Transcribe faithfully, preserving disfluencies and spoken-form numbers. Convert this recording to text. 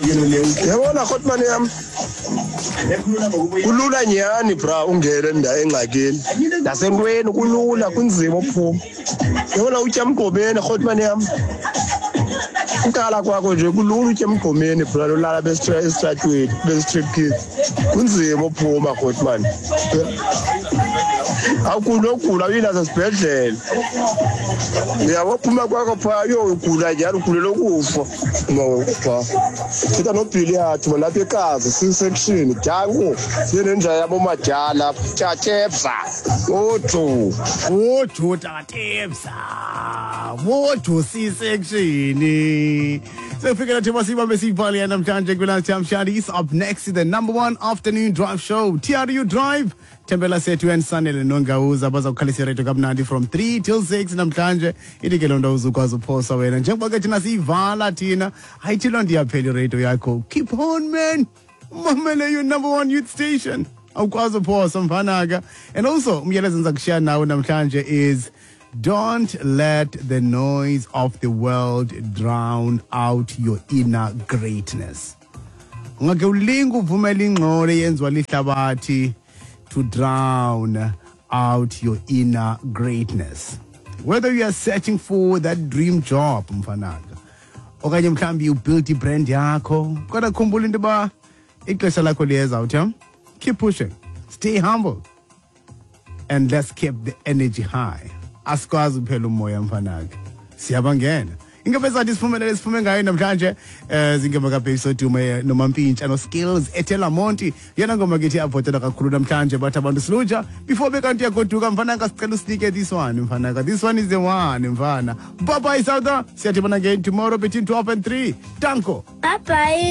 Yabona, Grootman yam, kulula nyhani, bra, ungene enda engxakini nasentweni, kulula, kunzima uphuma. Yabona, utya emgqomeni, Grootman yam, uqala kwakho nje kulula utya emgqomeni, bra, lolala esitratweni be-street kids, kunzima uphuma, Grootman. Awukunogula uyi nasesibhedlele, uyabo, phuma kwakho phaa yo ugula nyhani, ugulela ukufa phaa. Thetha nobhili yathi malapha ekazi C-section danko siye nenja yabo madala tatebza ojo. Wojo tatebza, wojo C-section. Sekufikela thema sibambe siyibhale namhlanje kwi-Lunchtime Shadis. Up next is the number one afternoon drive show, T R U Drive. Thembela Sethu and Sanele Nongawuza baza kukhalisa iradio kamnandi from three till six namhlanje. Ithi ke loo nto uzukwazi uphosa wena njengoba ke thina siyivala thina. Ayithi loo nto iyaphela iradio yakho. Keep on, man, mamele your number one youth station. Awukwazi uphosa, mfanaka. And also umyalezo endiza kushiya nawe namhlanje is: don't let the noise of the world drown out your inner greatness. Ungake ulinge uvumela ingxolo eyenziwa lihlabathi to drown out your inner greatness. Whether you are searching for that dream job, mfanaka, okanye mhlawumbi you build ibrand yakho, kodwa khumbula into yoba ixesha lakho liyeza uthi. Keep pushing, stay humble, and let's keep the energy high. Asikwazi uphela umoya, mfanaka, siyabangena. Ingoma sathi siphumelele siphume ngayo namhlanje, eh zingoma kaBabe Sodume noMampintsha no Skills ethela Monty. Yena ngoma kithi avotela kakhulu namhlanje, bathi abantu siluja before bekanti yagoduka, mfanaka, sicela usinike this one, mfanaka. This one is the one, mfana. Bye bye, South. Siyadibana again tomorrow between twelve and three. Danko. Bye bye.